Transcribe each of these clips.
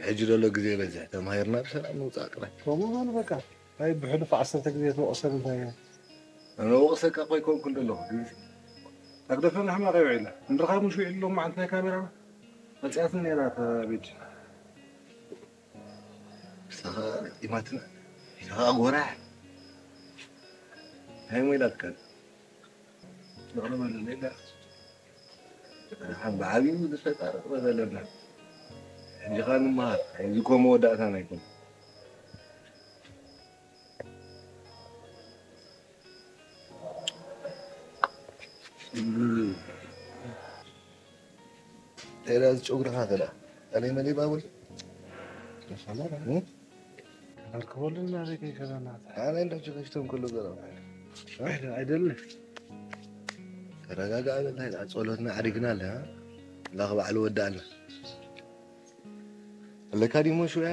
ሕጂ ዘሎ ግዜ በዝሕ ተማሂርና ብሰላም ንውፃእ ጥራይ። ከምኡ በሉ በቃ። ናይ ብሕሉፍ ዓሰርተ ግዜ ትወቕሰን እንታይ እያ? ኣነ ወቕሰካ እኮ ኣይኮንኩን ዘለኹ ግን ኣግደፈና ሕማቕ ኣይውዒልና እንድኻ ምሽ ውዒሉ ሎም መዓልቲ ናይ ካሜራ መፅያትን ነይራ እታ ቤት ንስኻ ኢማትና ንስኻ ጎራሕ እንታይ ሞ ኢላትካ ይቕረ በለለይ ኢላ ሓን ብዓብዩ ዝፈጣረቕ በለና ሕጂ ኸ ንምሃር እዚ ኮ መወዳእታና ኣይኮነ ቴዳ ዝጨጉርኻ ከዳ ቀለይ መለይ ባቡል ኣርክበሉ ናበይ ከይከዳና ኣነ እንዳ ሸፈሽቶም ከሎ ገራ ኣይደልን ተረጋጋ በል ጸሎትና ዓዲግና ኣለ ላኽ ባዕሉ ወዳእና ኣለካ ዲሞ ሽያ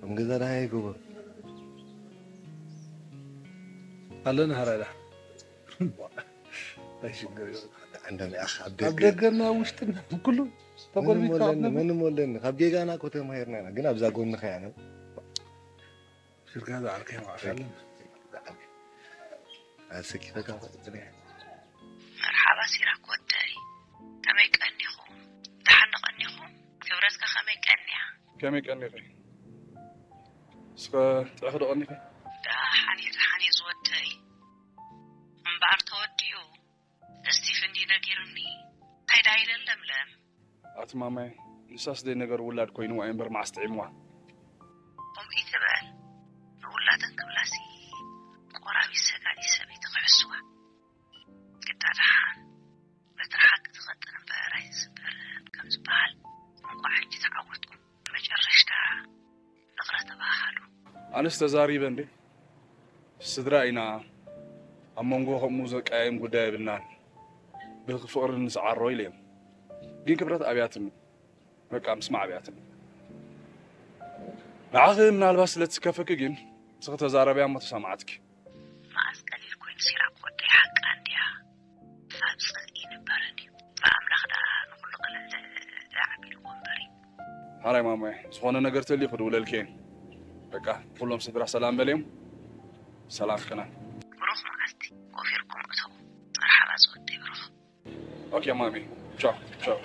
ከም ገዛ ደሃ ይግቦ ኣለና ሃራዳ ኣይሽግር እዩ። ዓንዳም ያኽ ኣብ ኣብ ደገ ደገና ውሽጥና ኩሉ ተጎልቢካ ኣብ ነብር ምንም ወለኒ ካብ ጌጋና እኮ ተማሂርና ኢና ግን ኣብዛ ጎንኻ ያነ ሽርካ ዝዓርከ ማዕሻለን ኣሰኪፈካ መርሓባ ሲራክ ወደይ፣ ከመይ ቀኒኹም? ደሓን ዶ ቀኒኹም? ክብረትካ ከመይ ቀንያ? ከመይ ቀኒኺ? እስኸ ጥዕኺ ዶ ቀኒኺ? ደሓን እየ ደሓን እየ ዝወደይ። እምበኣር ተወዲኡ እስቲፍ እንድዩ ነጊሩኒ። እንታይ ደኣ ኢለን ለምለም? ኣቲ ማማይ ንሳስ ደይ ነገር ውላድ ኮይንዋ እዩ እምበር መዓስ ጥዒምዋ። ከምኡ ይትበል ንውላደን ክብላሲ ቆራቢት ሰጋዲት ሰበይቲ ክሕስዋ ግዳ ደሓን በትሪ ሓቂ ትቐጥን እምበር ኣይትስበርን ከምዝበሃል እንቋዕ ሕጂ ተዓወትኩም መጨረሽታ ይቕረ ተባሃሃሉ። ኣነስ ተዛሪበ እንዴ ስድራ ኢና ኣብ መንጎ ከምኡ ዘቀያይም ጉዳይ የብልናን ብፍቕሪ ንስዓሮ ኢለዮም ግን ክብረት ኣብያትኒ በቃ ምስማዕ ኣብያትኒ ንዓኺ ምናልባት ስለ ትስከፈኪ ግን እስኺ ተዛረብያ እሞ ተሰማዓትኪ መዓስ ቀሊል ኮይኑ ሲራክ ወደይ ሓቃ እንድያ ሳብ ጽልኢ ይንበረን እዩ ብኣምላኽ ደኣ ንኹሉ ቀለል ዓቢልዎ እምበር እዩ ሓራይ ማማየ ዝኾነ ነገር ተልዩ ክድውለልኪ እየ በቃ ኩሎም ስድራ ሰላም በልዮም ሰላም ከና ብሩኽ መዓልቲ ኮፍ ኢልኩም እተዉ መርሓባ ዝወደይ ብሩኽ ኦኬ ማሚ ቻው ቻው